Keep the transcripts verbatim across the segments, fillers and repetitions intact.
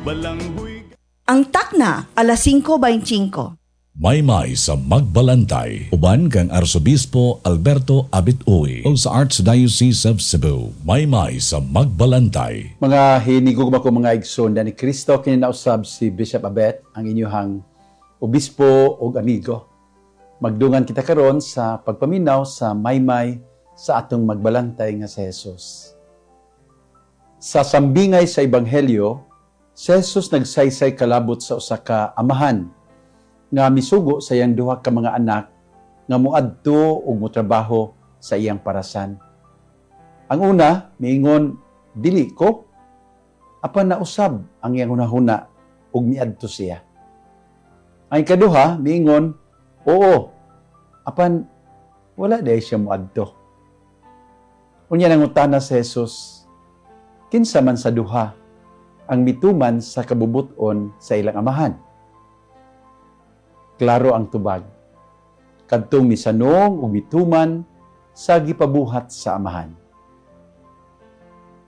Balanghoy Ang takna, alas singko beinte singko. Maymay sa Magbalantay. Uban kang Arsobispo Alberto Abit Uy o sa Archdiocese of Cebu. Maymay sa Magbalantay. Mga hinigugma ko mga igsoon ni Kristo, kini nausab si Bishop Abet, ang inyuhang obispo ug amigo. Magdungan kita karon sa pagpaminaw sa maymay sa atong magbalantay nga si Jesus. Sa sambingay sa Ebanghelyo, si Jesus nagsaysay kalabot sa usa ka amahan nga misugo sa iyang duha ka mga anak nga moadto ug motrabaho sa iyang parasan. Ang una, miingon, "Dili ko." Apan nausab ang iyang hunahuna ug miadto siya. Ang ikaduha, miingon, "Oo." Apan wala diay siya moadto. Unya nangutana si Jesus, kinsa man sa duha ang mituman sa kabubuton sa ilang amahan? Klaro ang tubag. Kadtong misanong ug mituman sa gipabuhat sa amahan.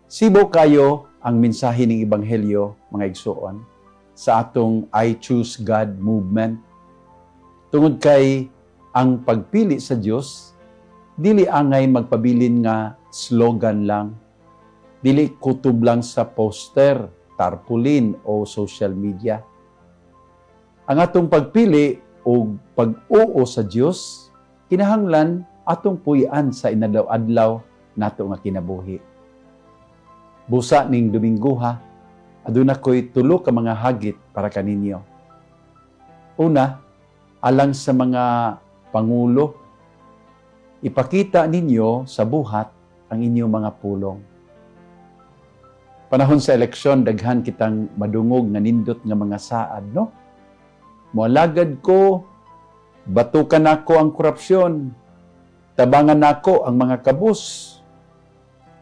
Sibo kayo ang mensahe ng Ebanghelyo, mga igsuon, sa atong I Choose God movement. Tungod kay ang pagpili sa Dios dili angay magpabilin nga slogan lang, dili kutob lang sa poster, tarpaulin o social media. Ang atong pagpili o pag-oo sa Dios kinahanglan atong puy-an sa inadlaw-adlaw nato nga kinabuhi. Busa ning Dominguha, aduna ko'y tulo ka mga hagit para kaninyo. Una, alang sa mga pangulo, ipakita ninyo sa buhat ang inyong mga pulong. Panahon sa eleksyon, daghan kitang madungog nga nindot nga mga saad, no? "Moalagad ko, batukan nako ang korupsyon, tabangan nako ang mga kabus,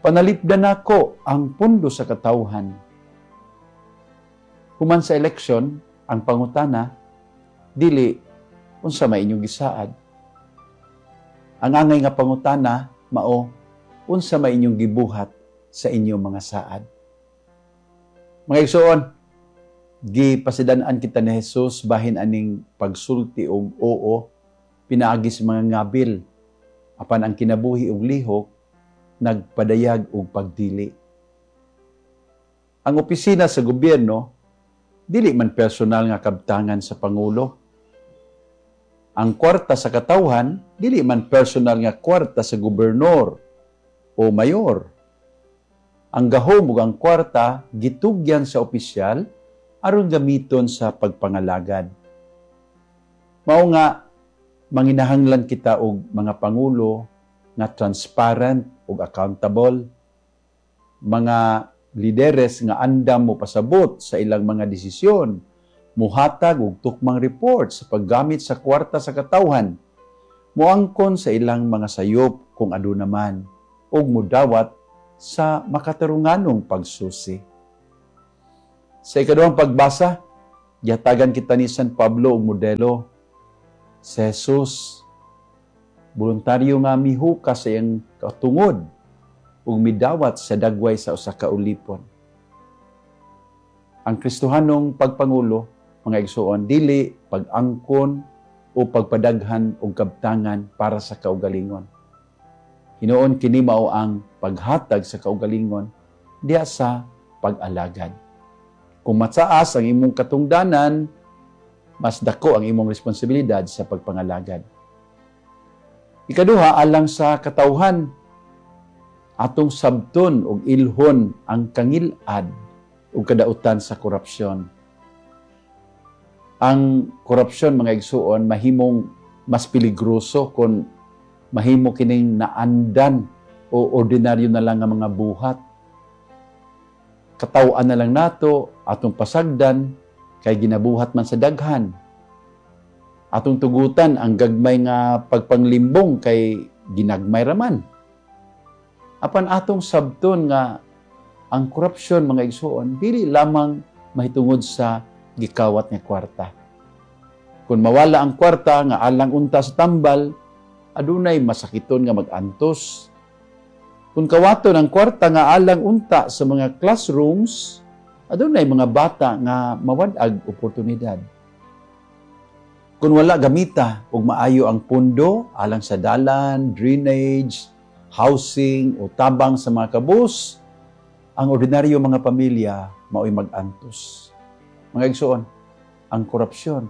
panalipdan nako ang pundo sa katawhan." Human sa eleksyon, ang pangutana, dili, "Unsa may inyong gisaad?" Ang angay nga pangutana, mao, "Unsa may inyong gibuhat sa inyong mga saad?" Mga igsoon, gipasidan-an kita ni Jesus bahin aning pagsulti og oo pinaagi sa mga ngabil, apan ang kinabuhi ug lihok nagpadayag og pagdili. Ang opisina sa gobyerno dili man personal nga kabtangan sa pangulo. Ang kwarta sa katawhan dili man personal nga kwarta sa gobernador o mayor. Ang gahom ug ang kwarta gitugyan sa opisyal aron gamiton sa pagpangalagad. Mao nga manginahanglan kita og mga pangulo nga transparent ug accountable, mga lideres nga andam mo pasabot sa ilang mga desisyon, muhatag og tukmang report sa paggamit sa kwarta sa katawhan, moangkon sa ilang mga sayop kung aduna man, ug mudawat sa makatarunganong pagsusi. Sa ikaduhang pagbasa, gihatagan kita ni San Pablo og modelo. Si Jesus, voluntaryo nga mihuka sa iyang katungod ug midawat sa dagway sa usa ka ulipon. Ang Kristohanong pagpangulo, mga igsuon, dili pag-angkon o pagpadaghan og kabtangan para sa kaugalingon. Hinuon kini mao ang paghatag sa kaugalingon diha sa pag-alagad. Kung mataas ang imong katungdanan, mas dako ang imong responsibilidad sa pagpangalagad. Ikaduha, alang sa katawhan, atong sabton ug ilhon ang kangilad ug kadautan sa korupsyon. Ang korupsyon, mga igsuon, mahimong mas peligroso kung mahimo kining naandan o ordinaryo na lang ang mga buhat. Kataw-an na lang nato, atong pasagdan, kay ginabuhat man sa daghan. Atong tugutan ang gagmay nga pagpanglimbong kay ginagmay raman. Apan atong sabton nga ang korupsyon, mga igsuon, dili lamang mahitungod sa gikawat nga kwarta. Kung mawala ang kwarta nga alang unta sa tambal, adunay masakiton nga mag-antos. Kung kawaton ang kwarta nga alang unta sa mga classrooms, Adunay mga bata nga mawad-ag oportunidad. Kung wala gamita og maayo ang pundo alang sa dalan, drainage, housing o tabang sa mga kabus, ang ordinaryo mga pamilya mao'y mag-antos. Mga igsoon, ang korupsyon,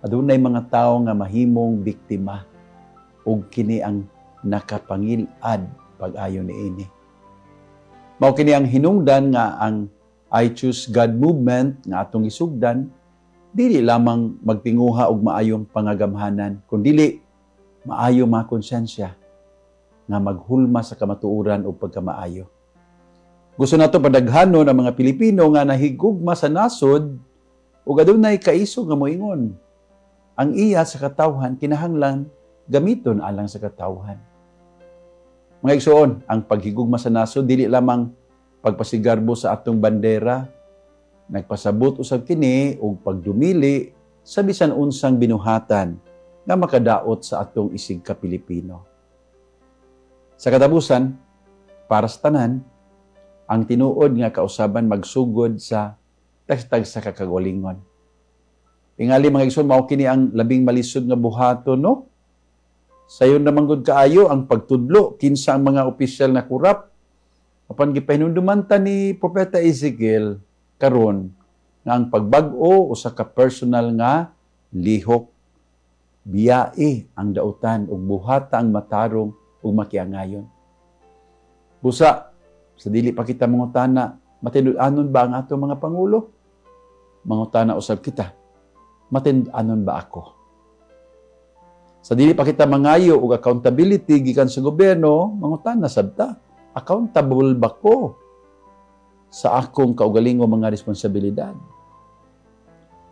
adunay mga tawo nga mahimong biktima ug kini ang nakapangilad pag-ayo niini. Mao kini ang hinungdan nga ang I Choose God movement nga atong gisugdan dili lamang magtinguha og maayong pangagamhanan, kundili maayo mga konsensya nga maghulma sa kamatuoran ug pagkamaayo. Gusto nato padaghanon ang mga Pilipino nga nahigugma sa nasod ug adunay kaisog nga moingon. Ang iya sa katawhan kinahanglan gamiton alang sa katawhan. Mga igsoon, ang paghigugma sa nasod dili lamang pagpasigarbo sa atong bandera, nagpasabot usab kini og pagdumili sa bisan unsang binuhatan nga makadaot sa atong isig ka Pilipino. Sa katapusan, para sa tanan, ang tinuod nga kausaban magsugod sa tagsa ka kagalingon. Tingali, mga igsoon, mao kini ang labing malisod nga buhaton, no? Sayon naman gud kaayo ang pagtudlo kinsa ang mga opisyal na kurap. Apan gipahinumduman ta ni Propeta Ezekiel karon nga ang pagbag-o usa ka personal nga lihok. Biyae ang dautan ug buhata ang matarong ug makiangayon. Busa sa dili pa kita mangutana, matinud-anon ba ang atong mga pangulo? Mangutana usab kita, matinud-anon ba ako? Sa dili pa kita mangayo og accountability gikan sa gobyerno, mangutana sab ta, accountable ba ko sa akong kaugalingong mga responsibilidad?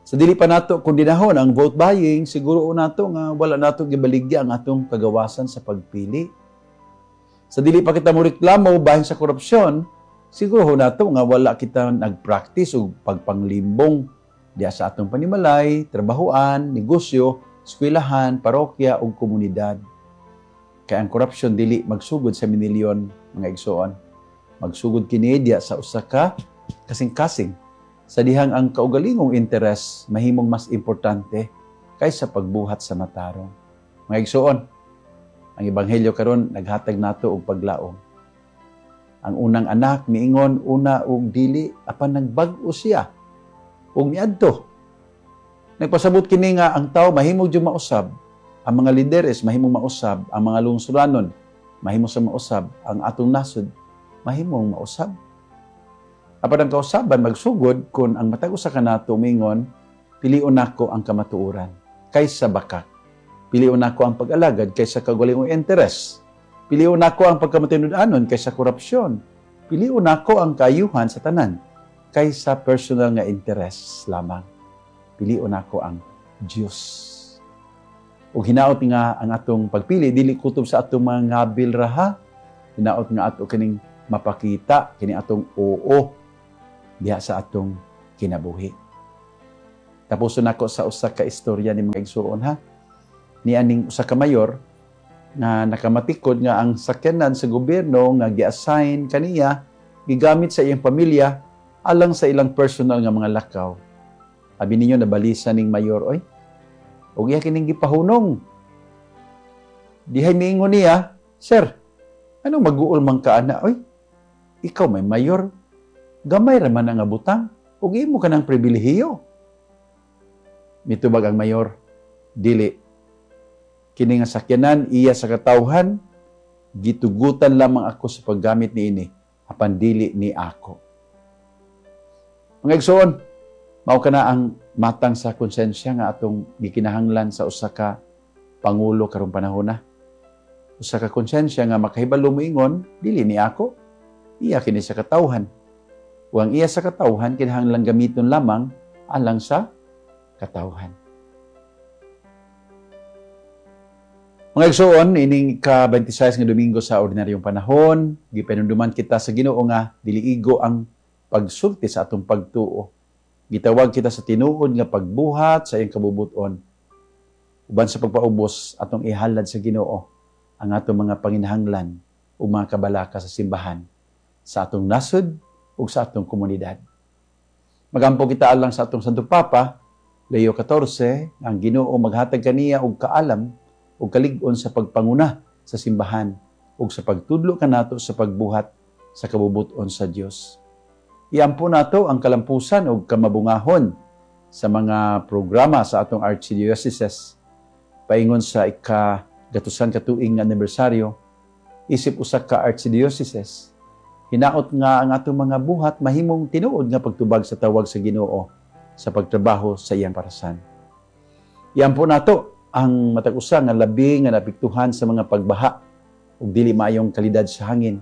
Sa dili pa nato kondinahon ang vote buying, siguro nato nga wala nato gibaligya ang atong kagawasan sa pagpili. Sa dili pa kita moreklamo bahin sa korupsyon, siguro nato nga wala kita nagpractice og pagpanglimbong diha sa atong panimalay, trabahoan, negosyo, eskwelahan, parokya ug komunidad. Kay ang korupsyon dili magsugod sa minilyon, mga igsoon. Magsugod kini diha sa usa ka kasing-kasing sa dihang ang kaugalingong interes mahimong mas importante kaysa pagbuhat sa matarong. Mga igsoon, ang ebanghelyo karon naghatag nato og paglaom. Ang unang anak miingon una og dili, apan nagbag-o siya ug miadto. Nagpasabot kini nga ang tawo mahimong jud mausab, ang mga lideres mahimong mausab, ang mga lungsuranon mahimo sa mausab, ang atong nasod mahimong mausab. Apan ang kausaban magsugod kung ang matag usa kanato mingon, pilion nako ang kamatuoran kaysa bakak. Pilion nako ang pag-alagad kaysa kaugalingong interes. Pilion nako ang pagkamatinud-anon kaysa korupsyon. Pilion nako ang kaayuhan sa tanan kaysa personal nga interes lamang. Pilion nako ang Dios. Ug hinaot nga ang atong pagpili dili kutob sa atong mga ngabil raha. Hinaot nga ato kining mapakita kini atong oo diha sa atong kinabuhi. Tapuson nako sa usa ka istorya ni mga igsuon ha. Ni aning usa ka mayor nga nakamatikod nga ang sakyanan sa gobyerno nga gi-assign kaniya gigamit sa iyang pamilya alang sa ilang personal nga mga lakaw. Abi ninyo nabalisa ning mayor oy. Ug iya kining gipahunong. Dihay miingon niya, "Sir, anong mag-uol man ka ana oy? Ikaw may mayor, gamay ra man ang butang ug imo ka ng pribilehiyo." Mitubag ang mayor, "Dili. Kini nga sakyanan iya sa katawhan, gitugutan lamang ako sa paggamit niini, apan dili ni ako." Mga igsoon, mao kana ang matang sa konsensya nga atong gikinahanglan sa usa ka pangulo karong panahona. Usa ka konsensya nga makahibalo moingon, dili ni ako, iya kini sa katawhan. Ug ang iya sa katawhan kinahanglan gamiton lamang alang sa katawhan. Mga igsoon, ining ika-twenty-six nga Domingo sa ordinaryong panahon, gipanunduman kita sa Ginoo nga dili igo ang pagsulti sa atong pagtuo. Gitawag kita sa tinuod nga pagbuhat sa iyang kabubuton. Uban sa pagpaubos, atong ihalad sa Ginoo ang atong mga panginahanglan ug mga kabalaka sa simbahan, sa atong nasod ug sa atong komunidad. Magampo kita alang sa atong Santo Papa, Leo fourteen, ang Ginoo maghatag kaniya og kaalam ug kalig-on sa pagpanguna sa simbahan ug sa pagtudlo kanato sa pagbuhat sa kabubut-on sa Dios. Iampo nato ang kalampusan ug kamabungahon sa mga programa sa atong archdioceses paingon sa ikagatusan ka tuig nga anibersaryo isip usa ka archdioceses. Hinaot nga ang atong mga buhat mahimong tinuod nga pagtubag sa tawag sa Ginoo sa pagtrabaho sa iyang parasan. Iampo nato ang matag usa nga labi nga naapektuhan sa mga pagbaha ug dili maayong kalidad sa hangin,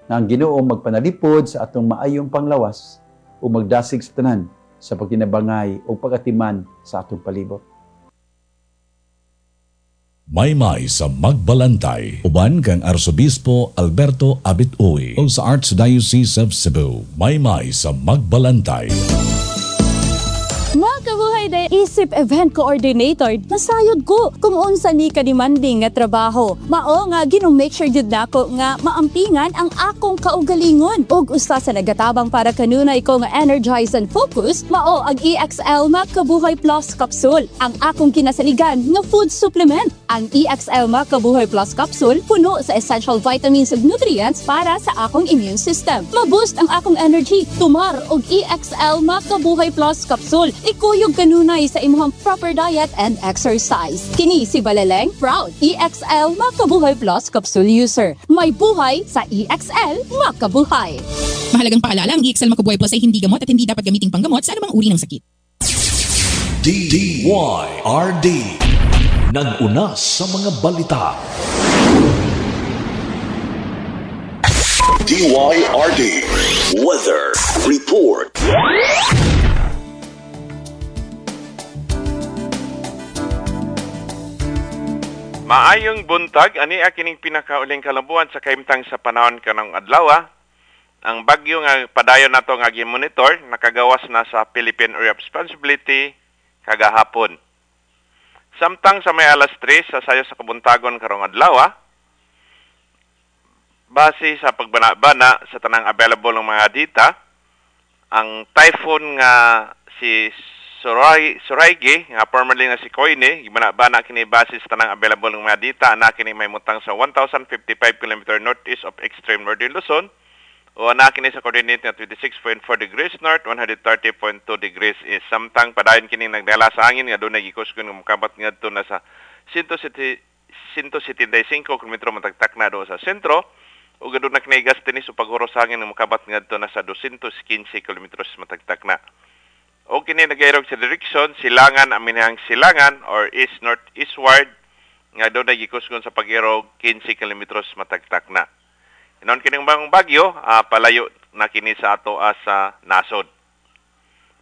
nga ang Ginoo magpanalipod sa atong maayong panglawas ug magdasig sa tanan sa pagtinabangay ug pagatiman sa atong palibot. Maymay sa Magbalantay, uban kang Arsobispo Alberto Abit Uy o sa Archdiocese of Cebu. Maymay sa Magbalantay. Makabuhay day isip event coordinator, nasayod ko kung unsa ni ka-demanding nga trabaho. Mao nga gino-make sure jud nako nga maampingan ang akong kaugalingon. Ug usa sa nagatabang para kanunay ko nga energize and focus, mao ang E X L Makabuhay Plus Capsule, ang akong kinasaligan nga food supplement. Ang E X L Makabuhay Plus Capsule puno sa essential vitamins ug nutrients para sa akong immune system. Ma-boost ang akong energy, tumar og E X L Makabuhay Plus Capsule. Ikuyog kanunay sa imong proper diet and exercise. Kini si Balaleng, proud E X L Makabuhay Plus Capsule user. May buhay sa E X L Makabuhay. Mahalagang paalala, ang E X L Makabuhay Plus ay hindi gamot at hindi dapat gamiting panggamot sa anumang uri ng sakit. D Y R D. Nag-una sa mga balita. D Y R D Weather Report. Maayong buntag, ani kining pinakauling kalambuan sa kahimtang sa panahon kanang adlaw. Ang bagyo nga padayon nato nga gi-monitor nakagawas na sa Philippine Area of Responsibility kagahapon. Samtang sa may alas tres sa sayo sa kabuntagon karong adlaw, base sa pagbana-bana sa tanang available ng mga data, ang typhoon nga si Suray, Surigae, nga formerly nga si Koine, gibana-bana kini base sa tanang available ng mga data, ana kini may mutang sa one thousand fifty-five kilometers northeast of extreme northern Luzon, o ana kini sa coordinate nga twenty-six point four degrees north, one hundred thirty point two degrees east. Samtang padayon kini nagdala sa hangin nga dunay gikusgon nga mokabat ngadto na sa one seventy-five kilometro matagtak na do sa sentro, ug aduna kini gas tinis o paghuros sa hangin nga mokabat ngadto na sa two fifteen kilometros matagtak na. O kini nagairog sa direksyon silangan aminhang silangan or east north eastward nga dunay gikusgon sa pag-irog fifteen kilometros matagtak na. Inon kining bagong bagyo, uh, palayo na kini sa ato sa nasod.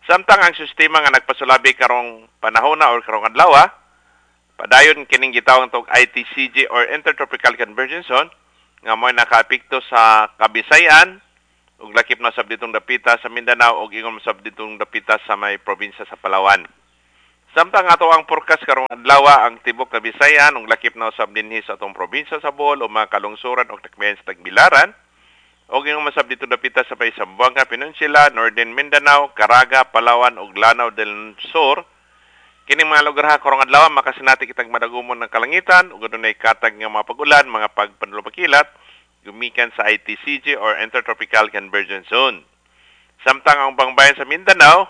Samtang ang sistema nga nagpasulabi karong panahona or karong adlaw, padayon kining gitawag tog I T C G or Intertropical Convergence Zone nga mo'y nakaapekto sa Kabisayan ug lakip na sab ditong dapita sa Mindanao ug ingon sab ditong dapita sa may probinsya sa Palawan. Samtang ato ang forecast karong adlaw ang tibok Kabisayan ug lakip na usab dinhi sa atong probinsya sa Bohol o mga kalungsuran ug takmian sa Tagbilaran ug ingon masab ditong dapita sa may Zamboanga Peninsula, Northern Mindanao, Caraga, Palawan ug Lanao del Sur. Kining mga lugar ha karong adlaw makasinati kitang madagumon ng kalangitan ug adunay katag nga mga pag-ulan, mga pagpanlupakilat gumikan sa I T C G or Intertropical Convergence Zone. Samtang ang bangbayan sa Mindanao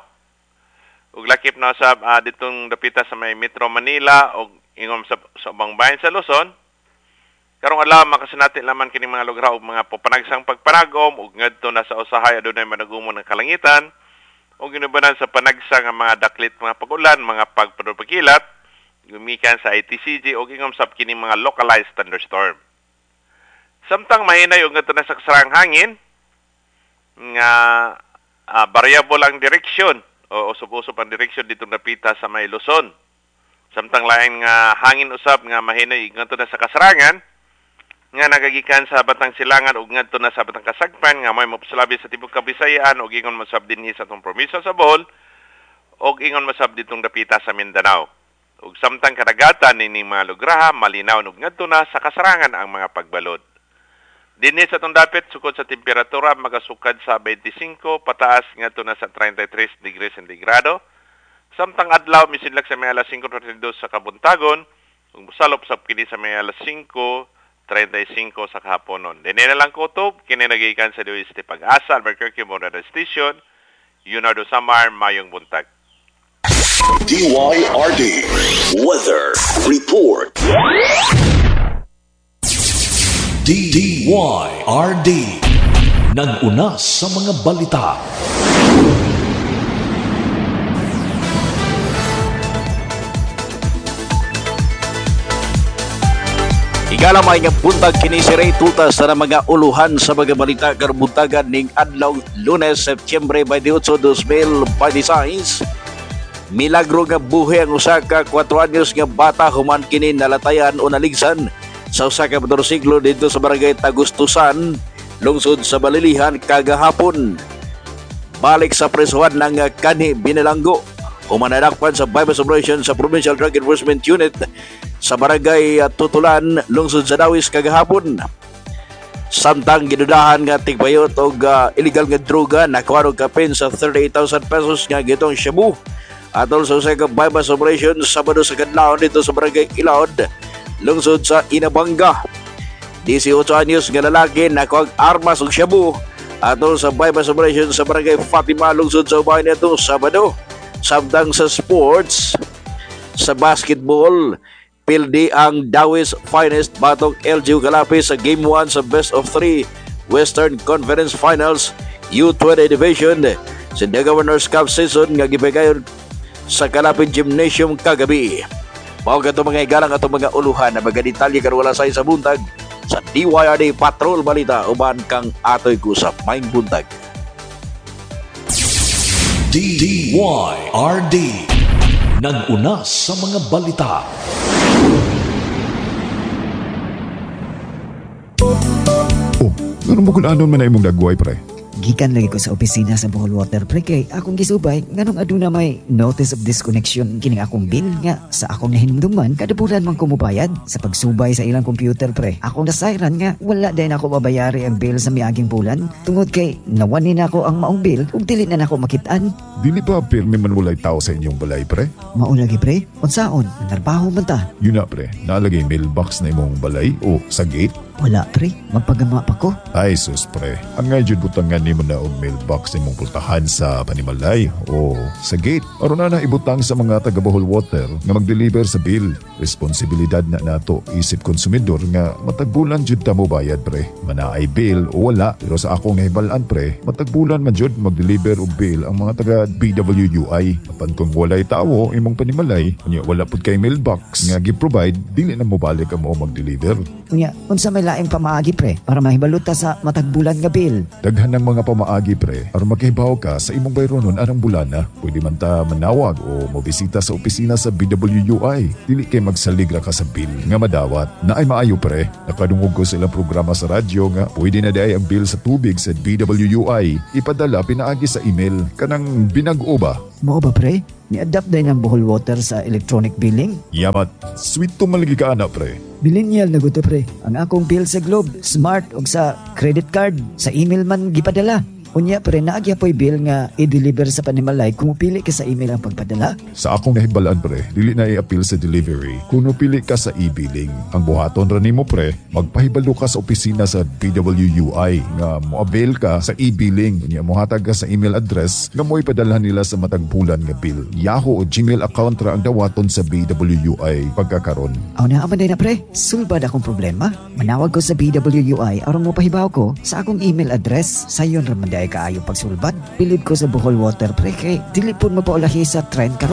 ug lakip na sa uh, ditong dapita sa may Metro Manila ug ingon sa, sa ubang bayan sa Luzon, karong adlaw makasinati laman kining mga lugar og mga panagsang pagpanagom ug ngadto na sa usahay adunay madagumon ng kalangitan ug ginubanan sa panagsang ang mga daklit mga pag-ulan, mga pagpanupakilat gumikan sa I T C G ug ingon sab kining mga localized thunderstorm. Samtang mahinay ug ngadto na sa kasarang hangin nga uh, variable ang direksyon o usop-usop ang direksyon ditong dapita sa may Luzon. Samtang lain nga hangin usab nga mahinay ngadto na sa kasarangan nga nagagikan sa Batang Silangan ug ngadto na sa Batang Kasagpan nga may mopsulabi sa tibok Kabisayan ug ingon mosab dinhi sa atong probinsya sa Bohol ug ingon mosab ditong dapita sa Mindanao. Ug samtang kadagatan nining mga lugraha malinaw ug ngadto na sa kasarangan ang mga pagbalod. Dinhi sa atong dapit sukod sa temperatura magasukad sa twenty-five pataas ngadto na sa thirty-three degrees sentigrado. Samtang adlaw misinlag sa may alas singko trenta'y dos sa kabuntagon ug mosalop sab kini sa may alas singko trenta'y singko sa kahaponon. Dinhi na lang kutob kini nagikan sa D O S T Pag-asa, Albuquerque Modern Station, Leonardo Samar, mayong buntag. D Y R D Weather Report. D Y R D. Nag-una sa mga balita. Igalamay nga buntag, kini si Ray Tutas sa mga uluhan sa mga balita karong buntagan ning adlaw Lunes, Setyembre twenty-eight, twenty twenty-six. Milagro nga buhi ang usa ka kwatro anyos nga bata human kini nalatayan o naligsan sa usa ka motorsiklo didto sa barangay Tagustusan, lungsod sa Balilihan kagahapon. Balik sa presuhan ng kanhi binilanggo human nadakpan sa bypass operation sa Provincial Drug Enforcement Unit sa barangay Tutulan, lungsod sa Dawis kagahapon. Samtang gidudahan nga tigbayot og uh, illegal nga droga, nakuha og kapin sa thirty-eight thousand pesos nga gitong shabu atol sa usa ka bypass operation Sabado sa kadlawon didto sa barangay Ilaod, lungsod sa Inabanga. eighteen anyos nga lalaki nakuha armas ug shabu atol sa bypass operation sa barangay Fatima, lungsod sa Ubay nitong Sabado. Samtang sa sports, sa basketball, pildi ang Dawis Finest batok L G U Calape sa Game one sa Best of three Western Conference Finals U twenty Division sa The Governor's Cup season nga gipagayon sa Calape Gymnasium kagabi. Mao kato, mga igalang, atong mga uluhan na mga detalye karon wala sa sa buntag sa D Y R D Patrol Balita uban kang Atoy Kusap. Maayong buntag. D Y R D. Nag-una sa mga balita. Oh, ngano mo kung anon man na imong dagway, pre? Gikan lagi ko sa opisina sa Bohol Water, pre, kay akong gisubay nganong aduna may notice of disconnection kining akong bill nga sa akong nahinumduman kada bulan man ko mobayad. Sa pagsubay sa ilang computer, pre, akong nasayran nga wala din ako mabayari ang bill sa miaging bulan tungod kay nawani nako ang maong bill ug dili na nako makit-an. Dili ba pirmi man walay tao sa inyong balay, pre? Mao lagi, pre, unsaon narbaho man ta. Yun na, pre, nalagay mailbox na imong balay o sa gate? Wala, pre, magpagama pa ko. Ay sus, pre, angay jud butangan nimo na og mailbox imong pultahan sa panimalay o sa gate. Aron na na ibutang sa mga taga Bohol Water nga mag-deliver sa bill. Responsibilidad na nato isip konsumidor nga matag bulan jud ta mo bayad, pre. Manaay bill o wala, pero sa akong nahibal-an, pre, matag bulan man jud mag-deliver og bill ang mga taga B W U I. Apan kung walay tawo imong panimalay, unya wala pud kay mailbox nga gi-provide, dili na mobalik ang mao mag-deliver. Unya unsa may laing pamaagi, pre, para mahibalo ta sa matag bulan nga bill? Daghan ng mga pamaagi, pre, aron makahibaw ka sa imong bayronon arang bulana. Pwede man ta manawag o mobisita sa opisina sa B W U I. Dili kay magsalig ra ka sa bill nga madawat. Na ay maayo, pre. Nakadungog ko sa ilang programa sa radyo nga pwede na diay ang bill sa tubig sa B W U I ipadala pinaagi sa email, kanang binag-o ba. Mao ba, pre? Ni-adapt din ang Bohol Water sa electronic billing? Yamat, sweet to malagi ka ana, pre. Millennial na guto, pre. Ang akong bill sa Globe, Smart ug sa credit card, sa email man gipadala. Unya, pre, naa gyapoy bill nga i-deliver sa panimalay kung pili ka sa email ang pagpadala? Sa akong nahibalaan, pre, dili na i-appeal sa delivery. Kung pili ka sa e-billing, ang buhaton ra nimo, pre, magpahibalo ka sa opisina sa B W U I nga mo-avail ka sa e-billing. Unya mohatag ka sa email address nga mo ipadalhan nila sa matag bulan nga bill. Yahoo o Gmail account ra ang dawaton sa B W U I pagkakaron. Aw na man na, pre, sulbad akong problema. Manawag ko sa B W U I aron mo pahibaw ko sa akong email address. Sayon ra man diay kaayo pagsulbad. Bilib ko sa Bohol Water, pre, kay dili pud mapaulahi sa trend karon.